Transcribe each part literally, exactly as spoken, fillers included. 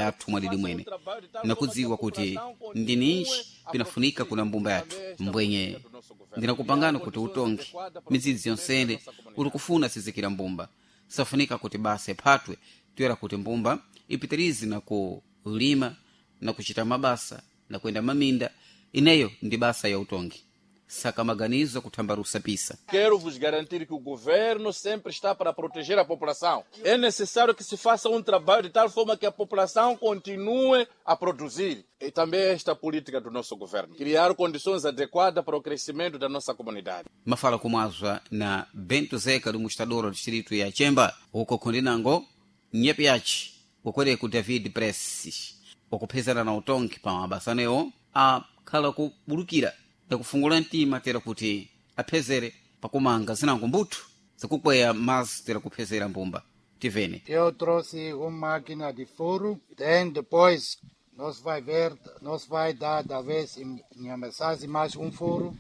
yathu mwadidi mwene nakudziwa kuti ndininji pinafunika kuna mbumba yathu mbwenye ndinakupangana kuti utongi midzidzi yonsene uli kufuna sizikira mbumba safunika kuti basa iphatwe toyera kuti mbumba ipitirize na kulima na kuchita mabasa na kuyenda maminda ineyo ndi basa ya utongi saka maganizo kuthambarusa pisa Quero vos garantir que o governo sempre está para proteger a população. É necessário que se faça um trabalho de tal forma que a população continue a produzir. E também esta política do nosso governo. Criar condições adequadas para o crescimento da nossa comunidade. Mafala kumwazwa na Bento Zeka do mostrador do distrito ya Chemba uko kundinango nyepe yachi ukwere ku David Press ukuphezana na utongi pa mabasanewo akhala kubulukira ndakufungula mtima tera kuti aphezere pakumanga zinango mbuthu zikukweya mazi tera kuphezera mbumba tivene. Eu trouxe uma máquina de furo, tem depois nós vai ver, nós vai dar talvez em Nhamasase mais um furo.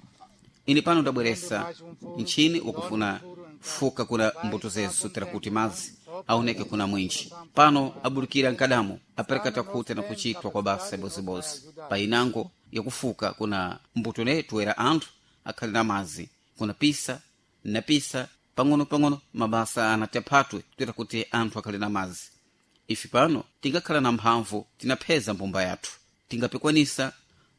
Ine pano ndabweresa ntchini ukufuna fuka kuna mbuto zesu tera kuti mazi aoneke kuna mwinji pano abulukira nkadamo apereka takhuta na kuchitwa kwa basa bozibozi painango yakufuka kuna mbuto ne toera anthu akhali na mazi kuna pisa na pisa pang'ono-pang'ono mabasa anatephatwe toera kuti anthu akhali na mazi ife pano tingakhala na mphamvu tinapheza mbumba yathu tingapikwanisa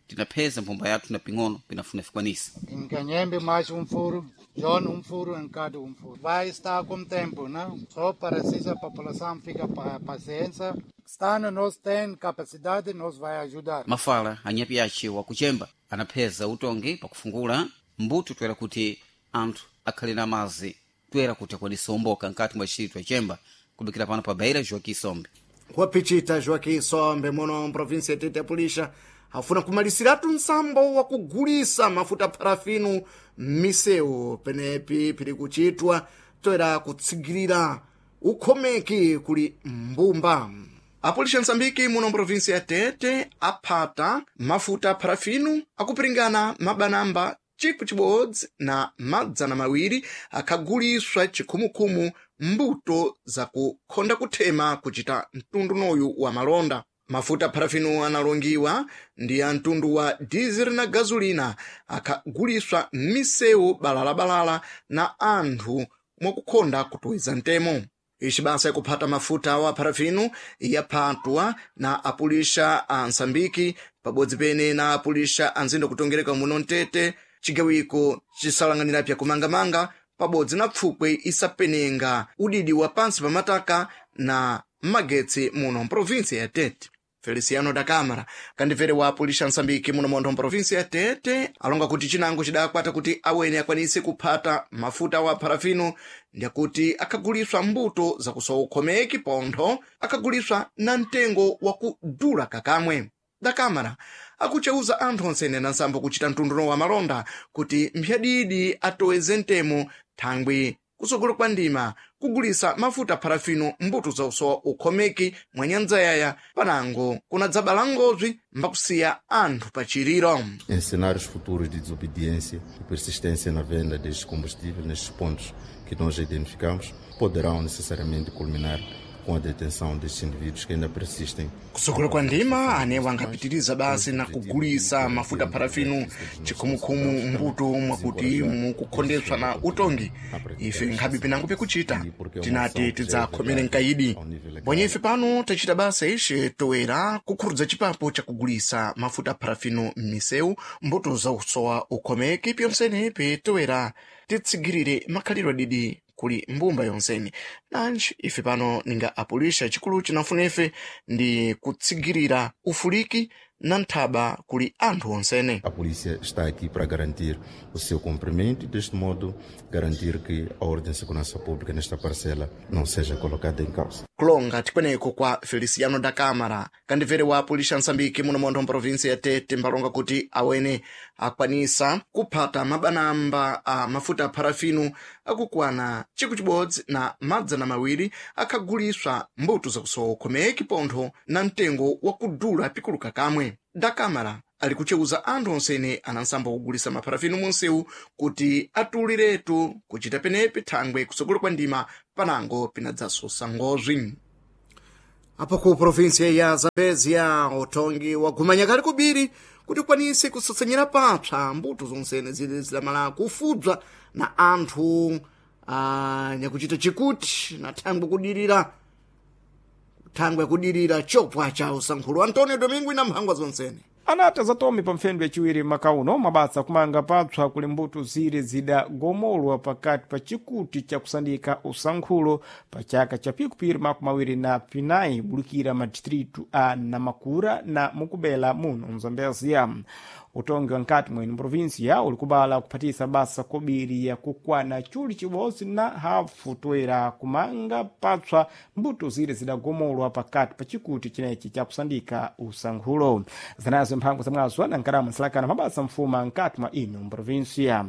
tinapheza mbumba yathu na ping'ono pinafuna fikwanisa. Em Canhembe mais um furo, John um furo, em cada um furo. Vai estar com tempo, não? Só precisa a população fica pa paciência. Estando nós tem capacidade, nós vai ajudar. Mafala anyapi ace wakuchemba anapheza utongi pakufungula mbuto toera kuti anthu akhale na mazi toera kuti akwanise umboka nkati mwa distrito ya Chemba kubikira pano pa Beira Joaquim Sombe. Wapichita Joaquim Sombe muno mprovinsi ya Tete ya afuna kumalisiratu nsambo wakugulisa mafuta parafinu m'misewu penepi pili kuchitwa toera kutsigirira ukhomeki kuli mbumba. Apolisi Msambiki muno mprovinsi ya Tete aphata mafuta parafinu akupiringana mabanamba chikwi chibodzi na madzana mawiri akhaguliswa chikhumukhumu mbuto zakukhonda kuthema kuchita mtundu wa malonda. Mafuta parafinu analongiwa ndi a mtundu wa dizeli na gazolina akhaguliswa m'misewu balalabalala na anthu mwakukhonda kutoweza mtemo. Ici basa yakuphata mafuta wa parafinu yaphatwa na apulisha a Msambiki pabodzi pene na apulisha a nzindo kutongereka muno Mtete cigawiko cisalang'anira pya kumangamanga pabodzi na pfukwe isapenenga udidi wa pansi pa mataka na magetsi muno mprovinsi ya Tete. Feliciano da Câmara kandibvere wa apulisha Msambiki muno montho mprovinsi ya Tete alonga kuti cinango cidakwata kuti awene akwanise kuphata mafuta wa parafino ndiyakuti akhaguliswa mbuto zakusowa ukhomeki pontho akhaguliswa na mtengo wakudula kakamwe. Da Câmara akuceuza anthu onsene na nsambo kuchita mtunduno wa malonda kuti mphyadidi atoweze mtemo thangwi kutsogolo kwa ndima kugulisa mafuta parafino mbuto za usowa ukhomeki mwa nyanja yaya panango kunadzabala ngozwi mbakusiya anthu pachiriro. Em cenários futuros de desobediência e persistência na venda destes combustíveis nestes pontos que nós identificamos, poderão necessariamente culminar com a detenção destes indivíduos que ainda persistem. Kusokolo kwa ndima anewo angapitiriza basi na kugulisa mafuta parafino chikhumukhumu mbuto mwakuti mukukhondeswa na utongi. Ife nkhabe pinango pikuchita tinati tidzakhomere mkaidi mbonye ife pano tachita basa ixe toera kukhurudza chipapo chakugulisa mafuta parafino m'misewu mbuto za usowa ukhomeki pyonsenepi toera titsigirire makhalidwe adidi kuli mbumba yonseni nanji ife pano ninga apulisha chikulu cinafuna ife ndi kutsigirira ufuliki na nthaba kuli anthu onsene. A polícia está aqui para garantir o seu cumprimento e, deste modo, garantir que a ordem e segurança pública nesta parcela não seja colocada em causa. Kulonga tikweneko kwa Feliciano da Câmara kandibvere wa apulisha Msambiki muno montho mprovinsi ya Tete mbalonga kuti awene akwanisa kuphata mabanamba a mafuta a parafino akukwana chikwi chibodzi na madzana mawiri akhaguliswa mbuto zakusowa ukhomeki pontho na mtengo wakudula pikuluka kamwe. Da Câmara ali kuceuza anthu onsene anansambo kugulisa maparafino munsewu kuti atuliretu kuchita penepi thangwe kutsogolo kwa ndima panango pinadzasosa ngozwi. Apo ku província ya Zambezia utongi wagumanya kali kubiri kuti ukwanise kusasanyira papsa mbuto zonsene zili zidamala kufudzwa na anthu ah, nyakuchita chikuti na thangwe kudirira thangwe kudirira chopwa cha usankhulo. Antonio Domingo ina mphangwa zonsene. Anata zatome pa mpfendo yaciwiri maka uno mabasa kumanga papswa kuli mbuto zire zidagomolwa pakati pa chikuti cha kusandika usankhulo pa chaka cha pikupiri makumi awiri na pinayi bulukira madistritu a Namakura na Mukubela muno mzambezia. Utongi wa nkati mwene provinsia uli kubala kuphatisa basa kobiri ya kukwana chuli chibodzi na hafu toera kumanga papswa mbuto zire zidagomolwa pakati pa chikuti chinechi cha kusandika usankhulo. Zanazo mphango zamwazo na nkarama nsalakana mabasa mfuma nkati mwa ino mprovinsia.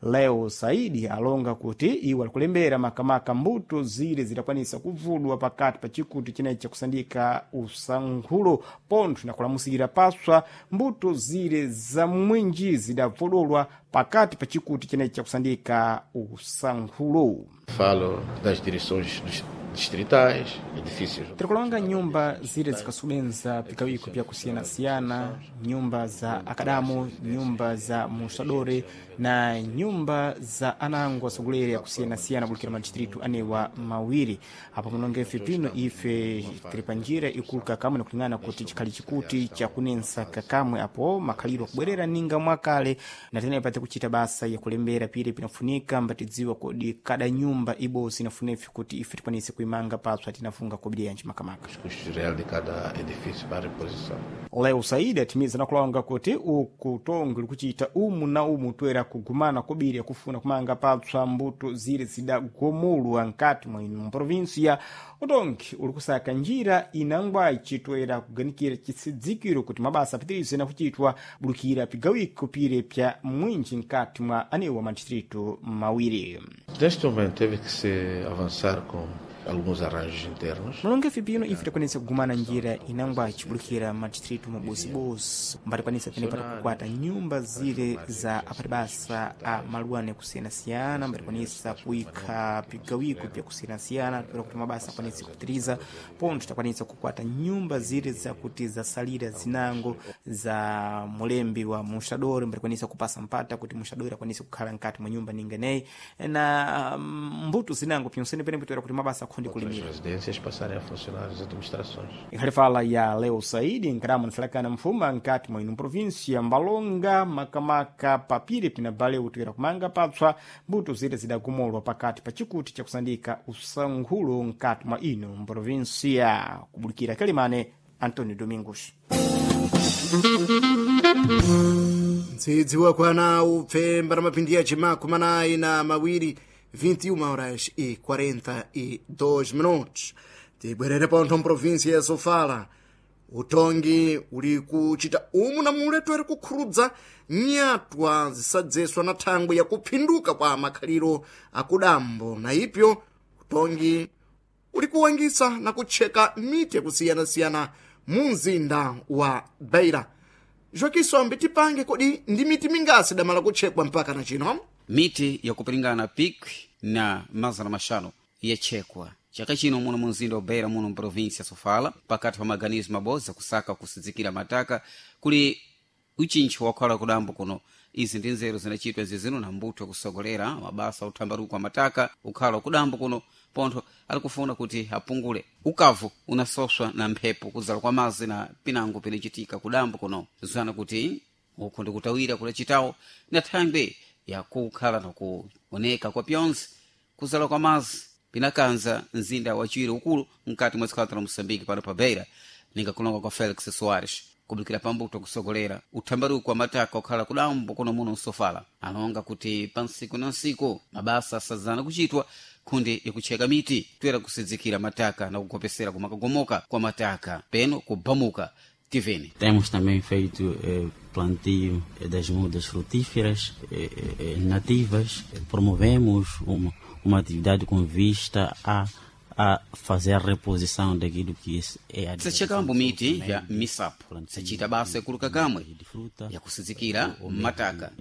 Leo Saidi alonga kuti iwo alikulembera makamaka mbuto zire zidakwanisa kuvudwa pakati pa chikuti chinechi cha kusandika usankhulo pontho na kulamusira paswa mbuto zire za mwinji zidavodolwa pakati pa chikuti chinechi cha kusandika usankhulo. Falo das direções dos distritais, edifícios. Tirikulonga nyumba zire zikasubenza pikawiko pyakusiyanasiyana, nyumba za akadamo, nyumba za musadore na nyumba za anango asogoleri akusiyanasiyana kulikira madistritu anewa mawiri. Apo munonga ife pino ife tiri panjira ikulu kakamwe nakulingana kuti chikhali chikuti chakunensa kakamwe apo makhaliro akubwerera ninga mwakale na tenepa tikuchita basa yakulembera pire pinafunika mbatidziwa kodi kada nyumba ibosi inafuna ife kuti ife tikwanise kuimanga papsa tinafunga kobiri yanji makamaka. Os custos reais de cada edifício para reposição. Leo Saidi atimiza na kulonga kuti uku tongi likuchita umu na umu toera kugumana kobiri yakufuna kumanga papswa mbuto zire zidagomolwa nkati mwa ino provinsia. Utongi uli kusaka njira inangwaci toera kuganikira chisidzikiro kuti mabasa apitirize na kuchitwa bulukira pigawiko pire pya mwinji nkati mwa anewa madistritu mawiri. Neste momento teve que se avançar com alguns arranjos internos. Mulonga ife pino ife takwanisa kugumana njira inangwa chibulukira madistritu mabosibosi mbatikwanisa pene patakukwata nyumba zire za apatibasa a maluane kusiyanasiyana, mbatikwanisa kuyikha pigawiko pyakusiyanasiyana toera kuti mabasa akwanise kupitiriza pontho takwanisa kukwata nyumba zire zakuti zasalira zinango za mulembi wa muxadori, mbatikwanisa kupasa mpata kuti muxadori akwanise kukhala nkati mwa nyumba ninganeyi na mm, mbuto zinango pyonsene pene toera kuti mabasa akhonde Outras kulimira. residências passarem a funcionar as administrações. Ikhalifala ya Leo Saidi nkarama nsalakana mfuma nkati mwa ino província mbalonga makamaka papire pinabale utoera kumanga papswa mbuto zire zidagomolwa pakati pa chikuti cha kusandika usankhulo nkati mwa ino província. Kubulikira Kalimane, Antonio Domingos. Ndzidzi wakwana upfe mbaramapindi ya chimakumi anayi na mawiri vinte e uma horas e quarenta e dois minutos. Tibwerere pontho mprovinsia ya Sofala. Utongi uli kuchita umu na mule toere kukhurudza nyatwa zisadzeswa na thangwe ya kuphinduka kwa makhaliro akudambo na ipyo utongi uli kuwangisa na kutcheka miti yakusiyanasiyana mu mzinda wa Beira. Joaquim tipange kodi ndi miti mingasi damala kutchekwa mpaka na chino? Miti yakupiringana pikwi na mazana maxanu yachekwa chaka chino muno munzinda wa Beira muno mprovinsia Sofala pakati pa maganizo mabodzi akusaka kusidzikira mataka kuli uchintcho wakhala kudambo kuno. Izi ndi nzeru zinachitwa zizino na mbuto yakusogolera mabasa uthambaruko wa mataka ukhala kudambo kuno pontho alikufuna kuti apungule ukavu unasoswa na mphepo kudzala kwa mazi na pinango pinachitika kudambo kuno zana kuti uku ndikutawira kulachitawo na thangwe yakukhala nakuoneka kwa pyonse kuzala kwa mazi pinakanza mzinda wachiwiri ukulu mkati mwa dziko la Moçambique pano pa Beira ningakulonga kwa Felix Soares kubukira pambuto kusogolera uthambaruko wa mataka okhala kudambo kuno muno msofala alonga kuti pa nsiku na nsiku mabasa asadzana kuchitwa khundi yakucheka miti toera kusidzikira mataka na kugopesera kumakagomoka kwa mataka peno kubamuka tiveni. Temos também feito eh, plantio das mudas frutíferas eh, eh, nativas. Promovemos uma, uma atividade com vista a, a fazer a reposição daquilo que é a Tisachekambo miti ya misapo, tisachita basa yakuluka kamwe yakusizikira mataka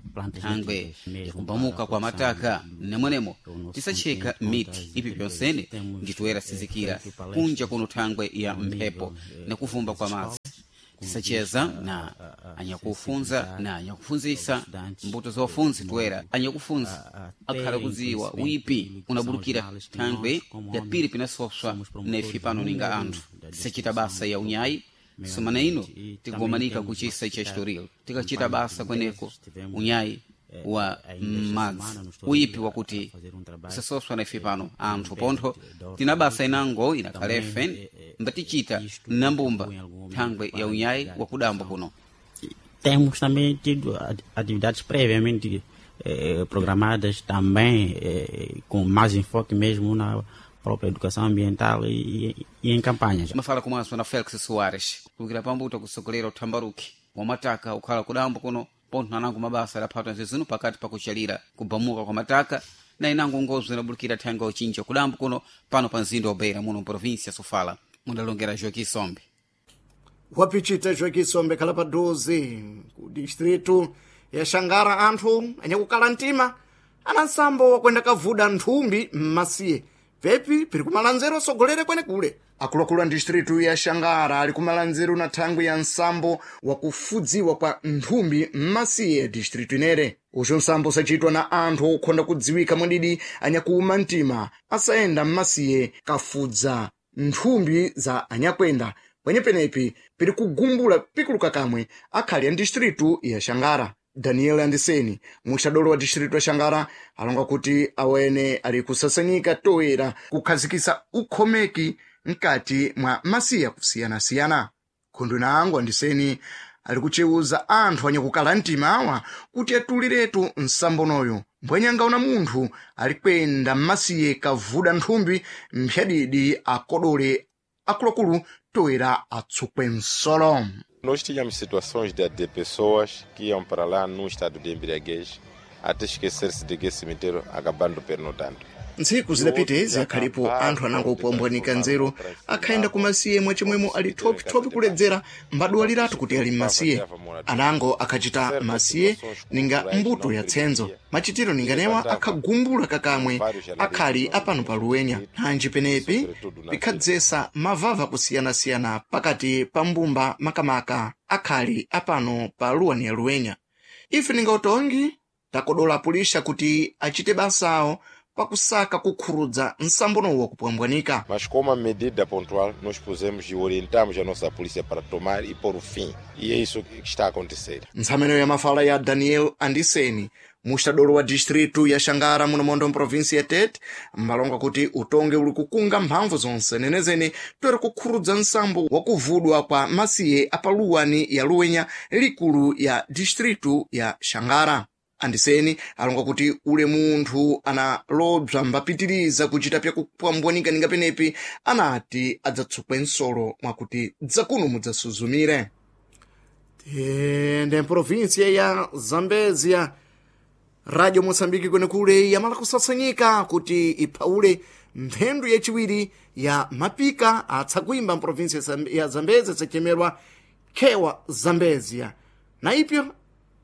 thangwe yakumbamuka kwa mataka nemwenemo tisacheka miti ipi pyonsene nditoera sizikira kunja kuno thangwe ya mphepo na kuvumba kwa madzi. Tisacheza na anyakufunza na anyakufunzisa mbuto za wafunzi toera anyakufunza akhala kudziwa wipi unabulukira thangwe ya piri pinasoswa nefi pano ninga anthu. Tisachita basa ya unyayi sumana ino tikugomanika kuchisa cha historia tikachita basa kweneko unyayi wa madzi uyipi wakuti usasoswa na ife pano anthu pontho tina basa inango inakhalefe mbatichita nambumba thangwe ya unyayi wakudambo kuno. Temos também tido atividades previamente eh, programadas também eh, com mais enfoque mesmo na própria educação ambiental e, e, e em campanhas. Mafala komanso na Felix Soares kulukira pambuto kusogolera uthambaruki wa mataka ukhala kudambo kuno pontho nanango mabasa adaphatwa nzizino pakati pakuchalira kubamuka kwa mataka na inango ngozo inabulukira thanga uchinja kudambo kuno pano pa mzinda wa Beira muno província Sofala. Mudalongera Joaquim Sombe. Wapichita Joaquim Sombe khala paduze ku distritu ya Xangara anthu anyakukala mtima ana nsambo wakwenda kavuda nthumbi mmasiye pepi piri kumalanzero osogolere kwenekule. Akuluakulu a distritu ya Xangara ali kumalanzero na thangwi ya nsambo wakufudziwa kwa nthumbi mmasiye ya distritu inere. Uxo nsambo usachitwa na anthu okhonda kudziwika mwadidi anyakuuma mtima asayenda mmasiye kafudza nthumbi za anyakwenda pwenyepenepi piri kugumbula pikuluka kamwe akhali a distritu ya Xangara. Daniel Andiseni muxadolo wa distritu ya Xangara alonga kuti awene ali kusasanyika toera kukhazikisa ukhomeki mkati mwa masiya kusiyanasiyana. Khundu nango Andiseni ali kucewuza anthu anyakukala mtima awa kuti atuliretu nsambonoyo mbwenyanga una munthu ali kwenda mmasiye kavuda nthumbi mphyadidi akodole akuluakulu toera atsukwe nsolo. Nós tínhamos situações de, de pessoas que iam para lá num estado de embriaguez até esquecer-se de que cemitério acabando pernotando. Ntsiku zidapita izi akhalipo anthu anangopwambwanika nzeru akhayenda kumasiye mwachimwemo ali thopithopi kuledzera mbadwaliratu kuti ali mmasiye. Anango akhachita masiye ninga mbuto ya tsenzo machitiro ninganewa akhagumbula kakamwe akhali apano pa luwenya nanji penepi pikhadzesa mavava kusiyanasiyana pakati pa mbumba makamaka akhali apano pa luwani ya luwenya. Ife ninga utongi takodola pulisha kuti achite basawo pakusaka kukhurudza nsambonowo kupwambwanika. Mas como a medida pontual, nós pusemos e orientamos a nossa polícia para tomar e pôr o fim. E é isso que está a acontecer. Ntsameno ya mafala ya Daniel Andiseni muxadolo wa distritu ya Xangara muno mondo mprovinsi ya Tete mbalonga kuti utonge uli kukunga mphamvu zonse nenezene toera kukhurudza nsambo wakuvudwa kwa masiye apaluwani ya luwenya likulu ya distritu ya Xangara. Andiseni alonga kuti ule munthu analobza mbapitiriza kuchita pyakupwambwanika ninga penepi anati adzatsukwe nsolo mwakuti dzakuno mudzasuzumire. Tende mprovinsia ya Zambezia, Radio Moçambique kwenekule yamala kusasanyika kuti iphaule mphendu yachiwiri ya mapika atsakuimba mprovinsia ya Zambezia tsachemerwa Khewa Zambezia na ipyo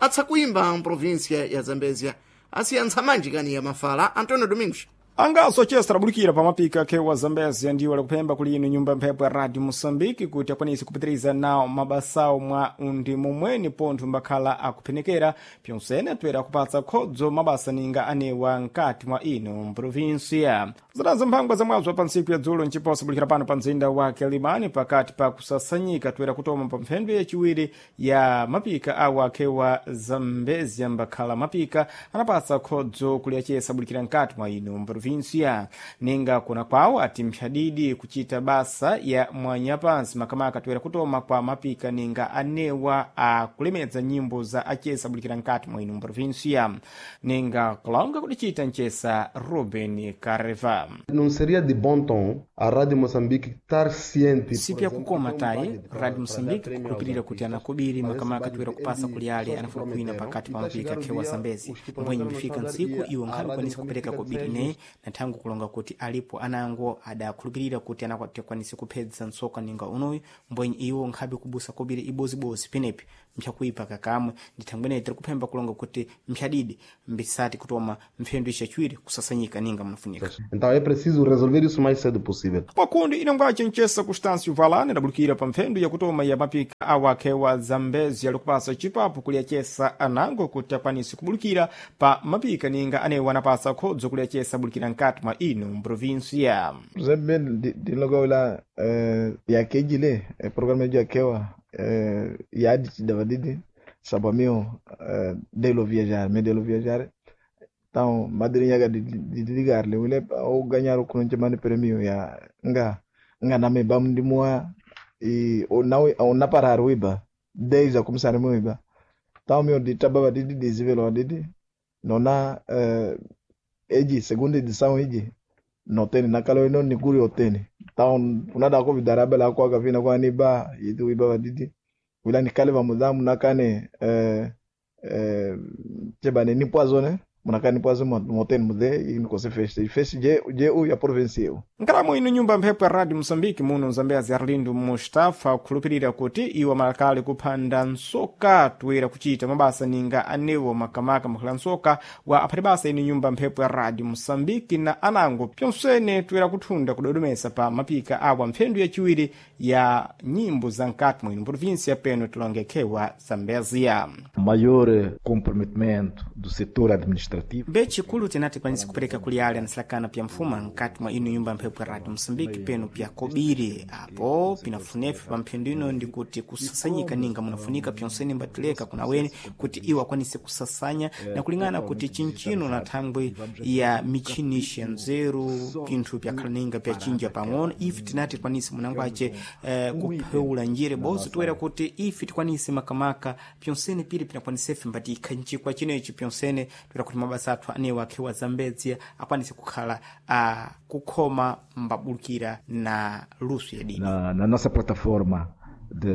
atsakuimba mprovinsia ya Zambezia asiya ntsamanji kani ya mafala. Antonio Domingos. Angaso chester abulikira pamapika khewa Zambezia ndiwo alikupemba kuli ino nyumba mphepo ya Radio Moçambique kuti akwanise kupitiriza nawo mabasawo mwa undi momweni pontho mbakhala akuphenekera pyonsene atoera akupatsa khodzo mabasa ninga anewa nkati mwa ino mprovinsia. Zinazo mphangwa zamwazo pa ntsiku ya dzulo nciposa bulikira pano pa mzinda wa Quelimane pakati pa kusasanyika toera kutoma pa mphendu yaciwiri ya mapika awa khewa Zambezia mbakhala mapika anapatsa khodzo kuli acesa bulikira nkati mwa ino mprovinsia ninga kuna kwawo ati mphyadidi kuchita basa ya mwanyapansi makamaka toera kutoma kwa mapika ninga anewa akulemedza nyimbo za acesa bulikira nkati mwa ino mprovinsia ninga kulonga kudichita ncesa Ruben Careva. Não seria de bom tom a Rádio Moçambique estar ciente Siku ya kukoma tayi Radio Moçambique kukhulupirira kuti anakubiri makamaka toera kupasa kuli ale anafuna kuina pakati pa mapika khewa Zambezi mbwenye mbifika ntsiku iwo nkhali kwanisa kupereka kobiri ne Na nthangu kulonga kuti alipo anango adakhulupirira kuti anakwatikwanise kuphedza ntsoka ninga unoyu, mbwenye iwo nkhabe kubusa kobiri ibozibozi penepi mpyakuipa kakamwe. Ndi thangwi ineyi tiri kuphemba kulonga kuti mphyadidi mbisati kutoma mphendu ichachiwiri kusasanyika ninga munafunika. Então é preciso resolver isso o mais cedo possível. Pakundi inongwace ncesa Constâncio Valane adabulukira pa mphendu yakutoma ya mapika awakhewa Zambezi alikupasa chipapo kuliyacesa anango kuti akwanise kubulukira pa mapika ninga anewo anapasa khodzo kuliyacesa abulukira nkati mwa ino mprovinsia. Por exemplo, lá yakejile programa yakewa yadi davadidi sabamio delo viajar me delo viajar. Então madrinha de de ligar le wile ou ganhar o kunche mani premio ya nga nga na me bam ndimua e ou não ou na parar uiba desde a começar mo iba. Então meu de tababa de de desvelo de nona eh eji segunda edição eji no teni na kalo ino ni kuri oteni. Então unada ko vidara bela ko ka vina kwa ni ba yitu iba badidi wila ni kale va mudamu nakane eh eh chebane ni poisonné munakani poison moteni mude ini kose feste feste je je u ya province eu. Nkalamo ino nyumba mphepo ya Radio Moçambique muno Zambezi, Arlindo Mustafa akhulupirira kuti iwo malakali kuphanda nsoka toera kuchita mabasa ninga anewo makamaka makhala nsoka wa aphati basa ino nyumba mphepo ya Radio Moçambique na anango pyonsene toera kuthunda kudodomesa pa mapika awa mphendu yachiwiri ya nyimbo za nkati mwino província peno tilongekhewa Zambezia. Maior comprometimento do setor administrativo. Bechikulu tinati kwanisa kupereka kuli ale anasilakana pya mfuma nkati mwa ino nyumba mphepo ya Radio Moçambique peno pya kobiri apo pinafunefe pa mphendu ino ndikuti kusasanyika ninga munafunika pyonsene mbatileka kuna weni kuti iwo akwanise kusasanya na kulingana kuti chinchino na thangwi ya michini nzeru pinthu pyakhala ninga pyachinja pang'ono. Ife tinati tikwanise munango ace eh, kupheula njire bozo toera kuti ife tikwanise makamaka pyonsene pili pinakwanisefe mbati ikhanjikwa chinechi pyonsene toera kuti mabasa athu anewo akhewa Zambezia akwanise kukhala a kukhoma mbabulukira na luso ya dini na, na nossa plataforma de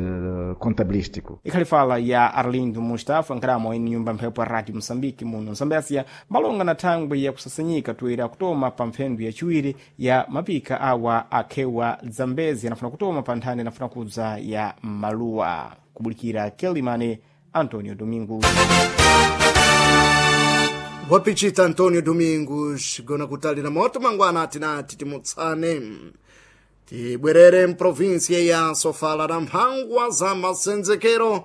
contabilístico. Ikhali fala ya Arlindo Mustafa nkhalamu ine nyumba mphepo ya Radio Moçambique muno Zambésia malonga na thangwi ya kusasanyika toera kutoma pa mphendu yachiwiri ya mapika awa akhewa Zambezi anafuna kutoma pa nthani anafuna kudza ya maluwa kubulikira Kelimane Antonio Domingos. Wapichita Antonio Domingos gona kutalira moto mangwana atinati timutsane tibwerere mprovinsia ya Sofala na mphangwa za masenzekero.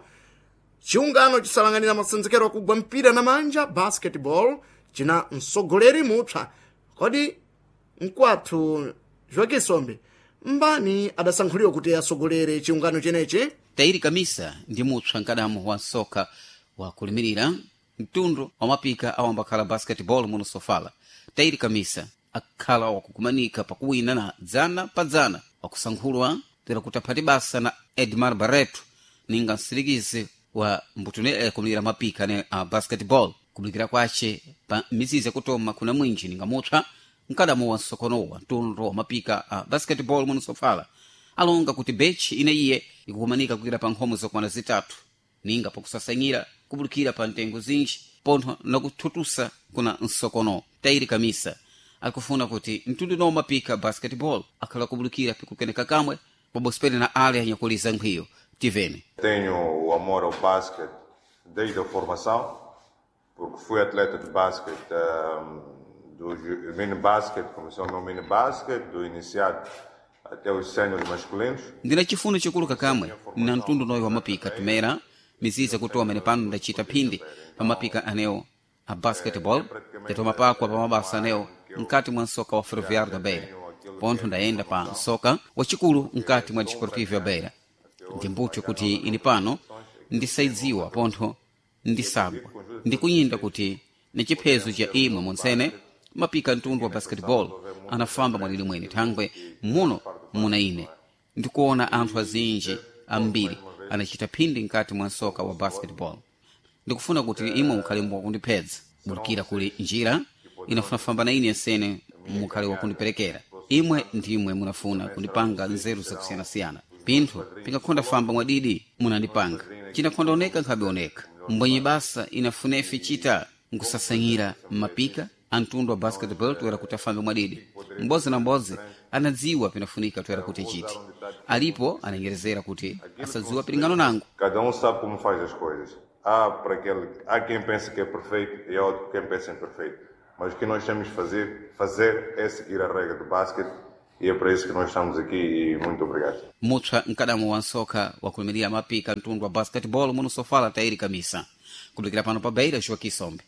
Chiungano chisalang'anira masenzekero akugwa mpira na manja basketball china msogoleri mupsa. Kodi mkwathu Joaquim Sombe mbani adasankhuliwa kuti asogolere chiungano chenechi? Tairi Kamisa ndi mupsa mkadamo wa nsoka wa kulimirira mtundu wa mapika awambakhala basketball muno Sofala. Tairi Kamisa akhala wakukumanika pakuwina na dzana pa dzana wakusankhulwa tera kuti aphati basa na Edmar Barreto ninga msirikizi wa mbutunele kumirira mapika ne a basketball kubulikira kwace pa mizizi yakutoma kuna mwinji ninga mupsa mkadamo wa nsokonowa mtundu wa mapika a basketball muno Sofala alonga kuti bechi ine iye ikukumanika kukira pa nkhomo zokwana zitatu ninga pakusasanyira kubulikira pa ntengo zinji pontho nakuthutusa kuna nsokono. Tairi Kamisa akufuna kuti mtundu no mapika basketball akhala kubulikira pikukeneka kamwe pabosipene na ale anyakuliza nkhwiyo tivene. Tenho o amor ao basquete desde a formação, porque fui atleta de basquete, um, do ju- mini basquete, começou o meu mini basquete, do iniciado até os séniores masculinos. Ndina chifuno chikulu kakamwe na mtundu noyo wa mapika tumera mizizi yakutoa mene pano ndachita phindi pa mapika anewo a basketball ndatoma pakwa pa mabasa anewo mkati mwa nsoka wa Ferroviário da Beira pontho ndayenda pa nsoka wachikulu mkati mwa Desportivo ya Beira. Ndi mbuthu kuti ini pano ndisaidziwa pontho ndisagwa ndikunyinda kuti ni chiphezo cha imwe monsene mapika mtundu wa basketball anafamba mwalili mwene thangwe muno muna ine ndikuona anthu azinji ambiri anachita phindi mkati mwa nsoka wa basketball. Ndikufuna kuti imwe mukhale wakundiphedza bulikira kuli njira inafuna famba na ine yasene mukhale wakundiperekera imwe ndimwe munafuna kundipanga nzeru zakusiyanasiyana pinthu pingakhonda famba mwadidi munandipanga cinakhonda oneka nkhabe oneka mbwenye basa inafunefe chita nkusasanyira mapika Antundu wa basketball toera kuti afambe mwadidi. M'bodzi na m'bodzi anadziwa pinafunika toera kuti achite. Alipo anengerezera kuti asadziwa pilingano nango. Cada um sabe como faz as coisas. Há, para aquele, há quem pense que é perfeito e há outro quem pensa imperfeito. Mas o que nós temos de fazer, fazer é seguir a regra do basquete e é para isso que nós estamos aqui e muito obrigado. Mutshwa mkadamo wa nsoka wakulimirira mapika mtundu wa basketball muno sofala Tairi Kamisa. Kulikira pano pa Beira, Joaquim Sombe.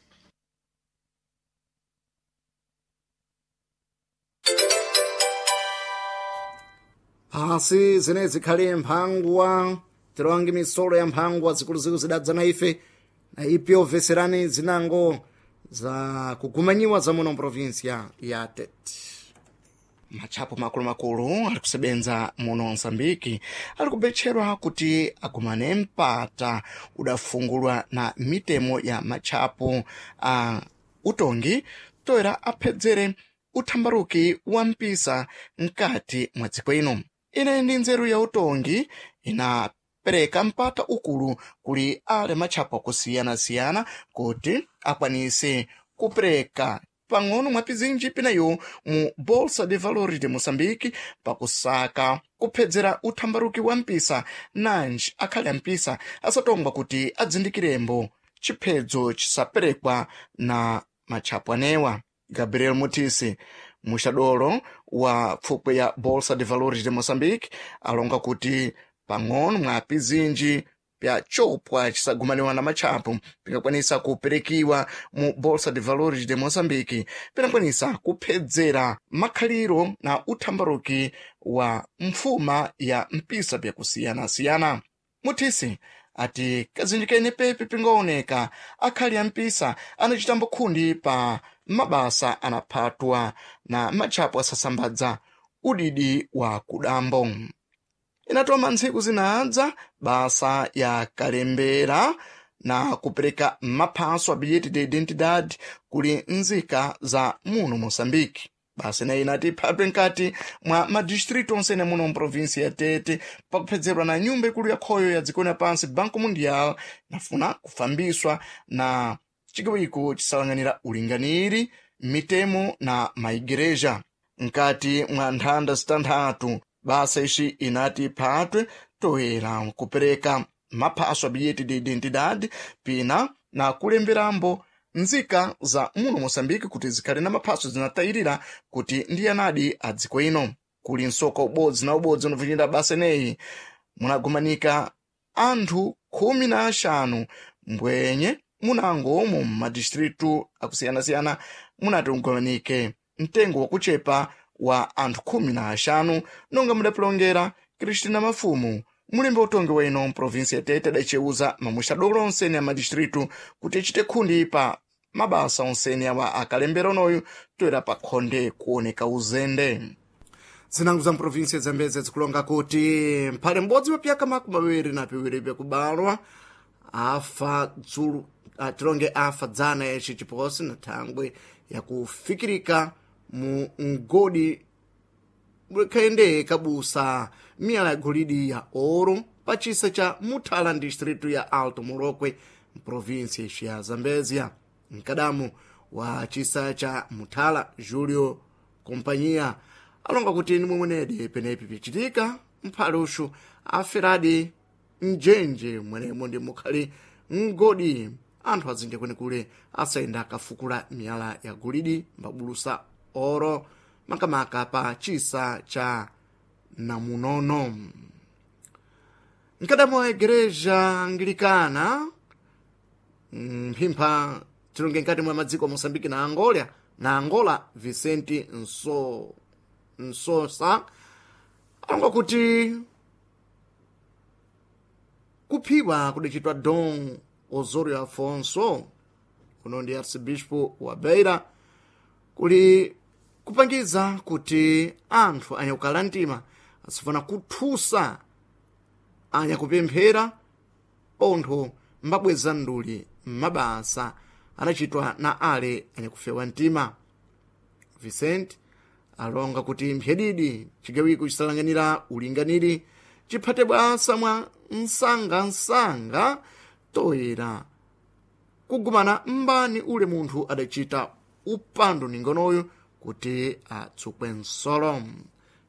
Asi zine zikhale mphangwa tilowange misolo ya mphangwa zikuluzikulu zidadza na ife na ipi obveserani zinango za kugumanyiwa za muno mprovinsia ya Tete. Matchapo makulumakulu ali kusebenza muno Mozambiki ali kubetcherwa kuti agumane mpata udafungulwa na mitemo ya matchapo a utongi toera aphedzere uthambaruki wa mpisa mkati mwa dziko ino. Ine ndi nzeru ya utongi inapereka mpata ukulu kuli ale matchapo akusiyana-siyana kuti akwanise kupereka pang'ono mwa pizinji pinayo mu Bolsa de Valores de Moçambique pakusaka kuphedzera uthambaruki wa mpisa nanji akhale ampisa asatongwa kuti adzindikirembo chiphedzo chisaperekwa na matchapo anewa. Gabriel Mutisi, muxadolo wa pfupwe ya Bolsa de Valores de Moçambique, alonga kuti pang'ono mwa pizinji pya chopwa chisagumaniwa na matchapo pikakwanisa kuperekiwa mu Bolsa de Valores de Moçambique pinakwanisa kuphedzera makhaliro na uthambaruki wa mfuma ya mpisa pyakusiyana-siyana. Mutisi ati kazinji kene pepe pingaoneka akhali ampisa anachitambo khundi pa mabasa anaphatwa na matchapo asasambadza udidi wa kudambo. Inatoma ntsiku zinadza basa ya kalembera na kupereka maphaso a bilhete de identidade kuli nzika za muno Moçambique. Basa ineyi inati iphatwe nkati mwa madistritu onsene muno mprovinsi ya Tete pakuphedzerwa na nyumba ikulu ya khoyo ya dziko lapansi Banco Mundial inafuna kufambiswa na chigawo chisalang'anira ulinganiri mitemo na maigereja. Nkati mwa nthanda zitanthatu basa ixi inati iphatwe toera kupereka maphaso a bilhete de identidade pina na kulemberambo nzika za muno Moçambique kuti zikhale na maphaso zinatayirira kuti ndi anadi a dziko ino. Kuli msoka ubodzi na ubodzi unovinjira basa ineyi munagumanika anthu khumi na axanu mbwenye munango mu madistritu akusiyana-siyana munati ugumanike mtengo wakuchepa wa anthu khumi na axanu nonga mudapilongera Cristina Mafumu mulembe utongi wa ino mprovinsi ya Tete adaceuza mamuxadolo onsene a madistritu kuti achite khundi pa mabasa onsene awa akalembera onoyu toera pa khonde kuoneka uzende. Zinango za mprovinsi ya Zambeze zikulonga kuti mphale m'bodzi wa pyaka makumi awiri na piwiri pyakubalwa afa dzulu ah, tilonge afa dzana yaci chiposi na thangwe yakufikirika mu mgodi khayende kabusa miyala ya golidi ya ouro pa chisa cha Muthala distritu ya Alto Molokwe mprovinsi ya Zambezia. Mkadamu wa chisa cha Muthala Julio Kompanyia alonga kuti nimwe mwenedi penepi pichitika mphale uxu aferadi mjenje mwenemo ndi mukhali mgodi anthu azinja kwenikule asayenda akafukula miyala ya golidi mbabulusa oro makamaka pa chisa cha Namunono. Mkadamo wa igreja Anglikana mphimpha tilonge nkati mwa madziko a Moçambique na Angola na Angola Vicente Nso Nsosa alonga kuti kuphiwa kudachitwa Dom Osorio Afonso uno ndi arcibispo wa Beira kuli kupangiza kuti anthu anyakukala mtima asifuna kuthusa anyakupemphera pontho mbabweza nduli m'mabasa anachitwa na ale anyakufewa mtima. Vicente alonga kuti mphyedidi chigawiko chisalang'anira ulinganiri chiphate bwasa mwa msangamsanga toera kugumana mbani ule munthu adachita upandu ningonoyu kuti atsukwe nsolo.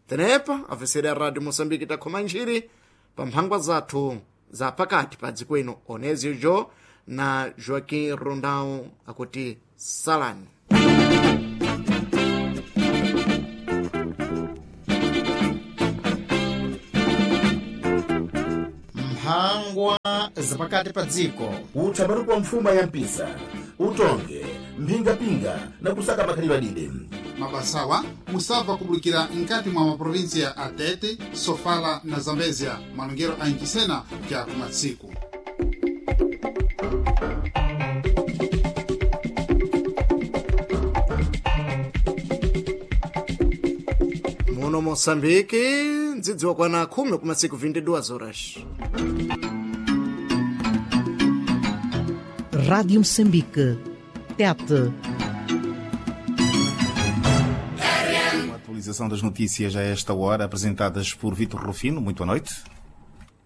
Tenepa afesera ya Radio Moçambique takhoma ntchiri pa mphangwa zathu za pakati pa dziko ino Onésio Jo na Joaquim Rondão akuti salani. Mphangwa zapakati pa dziko. Uthamatu wa mfuma ya mpisa utonge mphingapinga na kusaka makhalidwe adide. Mabasawa musabva kubulikira nkati mwa maprovinsia a Tete, Sofala na Zambezia, malongero a Inchisena ja kumatsiku. Muno Moçambique ndzidziwa kwana khumi kumasiku vinte e duas horas. Rádio Moçambique. Tete. Uma atualização das notícias a esta hora, apresentadas por Vitor Rufino. Muito boa noite.